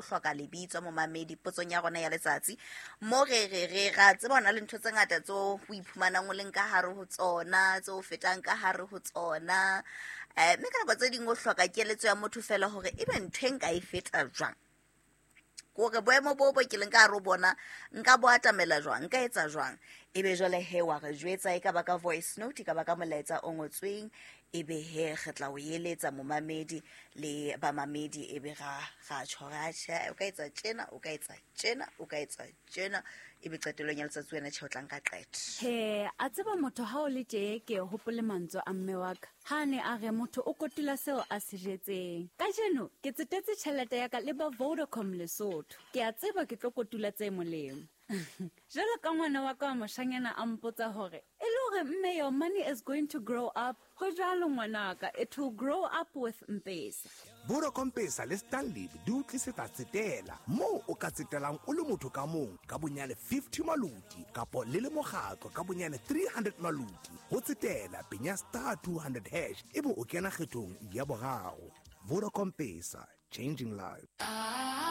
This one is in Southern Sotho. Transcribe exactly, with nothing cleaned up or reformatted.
hloka lebitso momamedi potsong ya rona ya letsatsi. Mo re re re ra tseba hona le ntho tse ngata tseo o iphumanang o leng ka hare ho tsona, tseo o fetang ka hare ho tsona. Eh, mme ka nako tse ding o hloka keletso ya motho fela hore ebe ntho e nka e feta jwang. Kore boemo bo bo ke leng ka hare ho bona nka bo atamela jwang, nka etsa jwang. Ebe jwale he wa re jwetsa, e ka ba ka voice note, e ka ba ka molaetsa o ngotsweng, ebe he re tla o eletsa momamedi le bamamedi, ebe ra ra tjho ra tjhe, o ka etsa tjena, o ka etsa tjena, o ka etsa tjena, ebe qetellong ya letsatsi wena tjhe o tla nka qeto. He, a tseba motho ha o le tje ke hopole mantswe a mme wa ka. Ha ne a re motho o kotula seo a se jetseng. Kajeno ke tsetetse tjhelete ya ka le ba Vodacom Lesotho. Ke a tseba ke tlo kotula tse molemo. Jwalo ka ngwana wa ka wa moshanyana a mpotsa hore, e le hore mme your money is going to grow up. Ho jwalo ngwanaka, it will grow up with M-Pesa. Vodacom Pesa le Stanlib di o tlisetsa tsetela moo o ka tsetelang o le motho ka mong ka bonyane fifty maloti kapo le le mokgatlo ka bonyane three hundred maloti. Ho tsetela penya star two hundred hash ebe o kena kgethong ya boraro. Vodacom Pesa, changing lives.